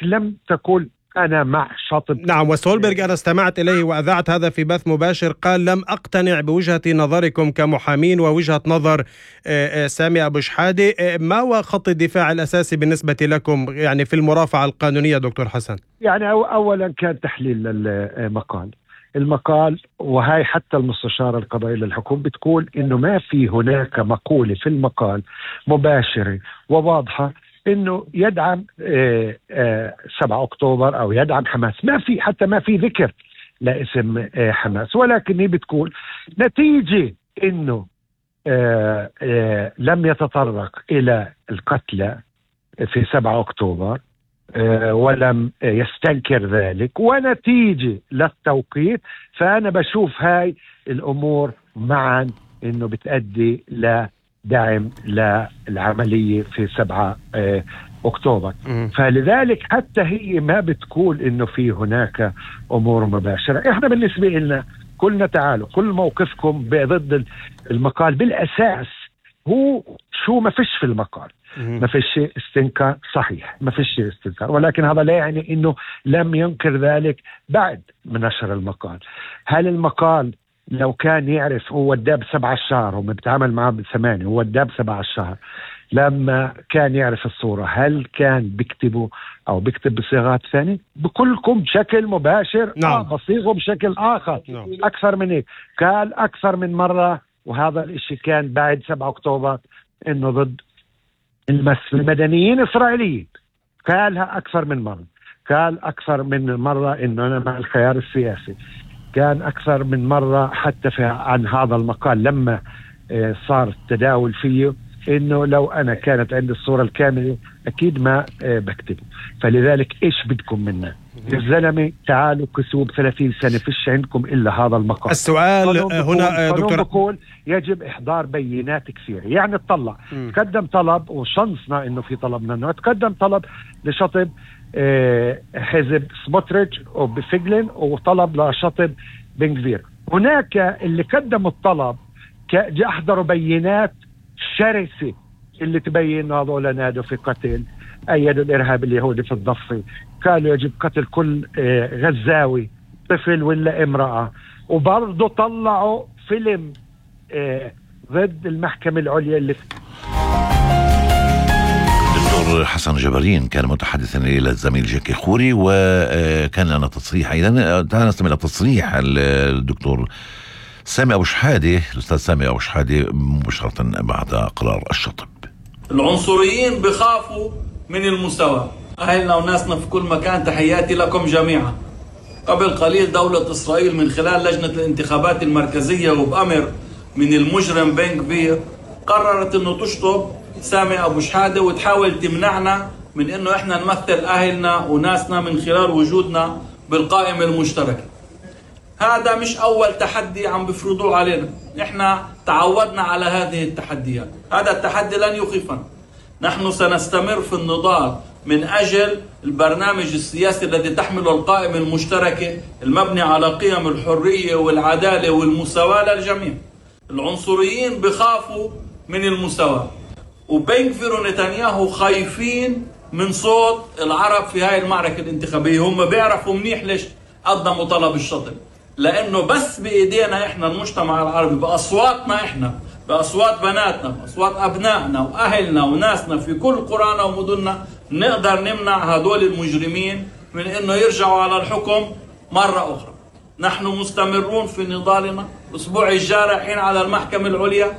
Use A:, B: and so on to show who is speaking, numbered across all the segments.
A: لم تقل أنا مع شاطب.
B: نعم، وسولبرغ أنا استمعت إليه وأذعت هذا في بث مباشر، قال لم أقتنع بوجهة نظركم كمحامين ووجهة نظر سامي أبو شحادة. ما هو خط الدفاع الأساسي بالنسبة لكم يعني في المرافعة القانونية دكتور حسن؟
A: يعني أولا كان تحليل المقال، وهي حتى المستشارة القضائية للحكومة بتقول إنه ما في هناك مقولة في المقال مباشرة وواضحة إنه يدعم 7 أكتوبر أو يدعم حماس. ما في ذكر لاسم حماس، ولكن هي بتقول نتيجة إنه لم يتطرق إلى القتلى في 7 أكتوبر ولم يستنكر ذلك، ونتيجة للتوقيت، فأنا بشوف هاي الأمور معا إنه بتأدي لدعم للعملية في 7 أكتوبر. فلذلك حتى هي ما بتقول إنه في هناك أمور مباشرة. إحنا بالنسبة لنا كلنا تعالوا، كل موقفكم ضد المقال بالأساس هو شو ما فيش في المقال، ما فيش استنكار، صحيح ما فيش استنكار، ولكن هذا لا يعني انه لم ينكر ذلك بعد من نشر المقال. هل المقال لو كان يعرف هو الداب 7 الشهر، هم بيتعامل معه ب8، هو الداب 7 الشهر، لما كان يعرف الصورة هل كان بيكتبه او بيكتب بصيغات ثانية؟ بكلكم بشكل مباشر.
B: نعم.
A: بصيغه بشكل اخر.
B: نعم.
A: اكثر من هيك قال اكثر من مرة، وهذا الاشي كان بعد 7 أكتوبر انه ضد المدنيين الإسرائيليين. قالها أكثر من مرة، قال أكثر من مرة إنه أنا مع الخيار السياسي، كان أكثر من مرة حتى عن هذا المقال لما صار التداول فيه إنه لو أنا كانت عندي الصورة الكاملة أكيد ما بكتبه. فلذلك إيش بدكم منا يا زلمة؟ تعالوا كسوب 30 سنة فيش عندكم إلا هذا المقال.
B: السؤال هنا دكتور
A: بقول يجب إحضار بينات كثيرة. يعني تطلع تقدم طلب، وشنصنا إنه في طلب منه، تقدم طلب لشطب حزب سموتريتش وبفجلن، وطلب لشطب بن غفير. هناك اللي قدموا الطلب أحضروا بينات شرسة اللي تبين هذول نادوا في قتل، أيدوا الإرهاب اليهودي في الضفة، قالوا يجب قتل كل غزاوي طفل ولا امرأة، وبرضه طلعوا فيلم ضد المحكمة العليا اللي
C: دكتور حسن جبارين كان متحدثا إلى الزميل جاكي خوري، وكان لنا تصريح أيضا. تعالى نستمع إلى تصريح الدكتور سامي أبو شحادة، الأستاذ سامي أبو شحادة مباشرة بعد قرار الشطب.
D: العنصريين بخافوا من المساواة. أهلنا وناسنا في كل مكان، تحياتي لكم جميعا. قبل قليل دولة إسرائيل من خلال لجنة الانتخابات المركزية وبأمر من المجرم بن غفير قررت أنه تشطب سامي أبو شحادة وتحاول تمنعنا من أنه إحنا نمثل أهلنا وناسنا من خلال وجودنا بالقائمة المشتركة. هذا مش أول تحدي عم بفرضوه علينا، إحنا تعودنا على هذه التحديات. هذا التحدي لن يخيفنا. نحن سنستمر في النضال من أجل البرنامج السياسي الذي تحمله القائمة المشتركة المبني على قيم الحرية والعدالة والمساواة للجميع. العنصريين بخافوا من المساواة، وبن غفير ونتنياهو خايفين من صوت العرب في هاي المعركة الانتخابية. هم بيعرفوا منيح ليش قدموا طلب الشطب، لأنه بس بإيدينا إحنا المجتمع العربي، بأصواتنا إحنا، بأصوات بناتنا، بأصوات أبنائنا وأهلنا وناسنا في كل قرانا ومدننا، نقدر نمنع هدول المجرمين من إنه يرجعوا على الحكم مرة أخرى. نحن مستمرون في نضالنا. الأسبوع الجاي رايحين على المحكمة العليا.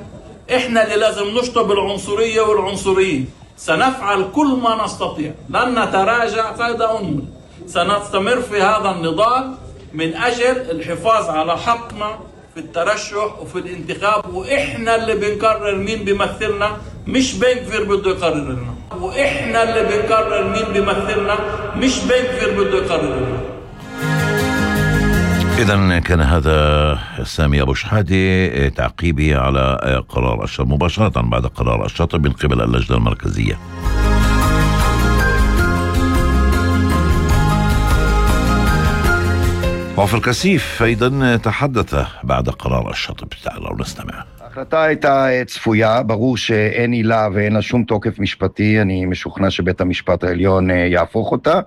D: إحنا اللي لازم نشطب العنصرية والعنصريين. سنفعل كل ما نستطيع، لن نتراجع فائدة أنمل. سنستمر في هذا النضال من أجل الحفاظ على حقنا في الترشح وفي الانتخاب، وإحنا اللي بنقرر مين بيمثلنا، مش بن غفير بده يقرر لنا. وإحنا اللي بنقرر مين بيمثلنا، مش بن غفير بده يقرر لنا.
C: إذن كان هذا سامي أبو شحادة تعقيبي على قرار الشطب مباشرة بعد قرار الشطب من قبل اللجنة المركزية. עופר כסיף أيضا תחדث بعد قرار الشطب. تعالوا نستمع.
E: ההחלטה הייתה צפויה, ברור שאין עילה ואין לה שום תוקף משפטי, אני משוכנע שבית המשפט העליון יהפוך אותה,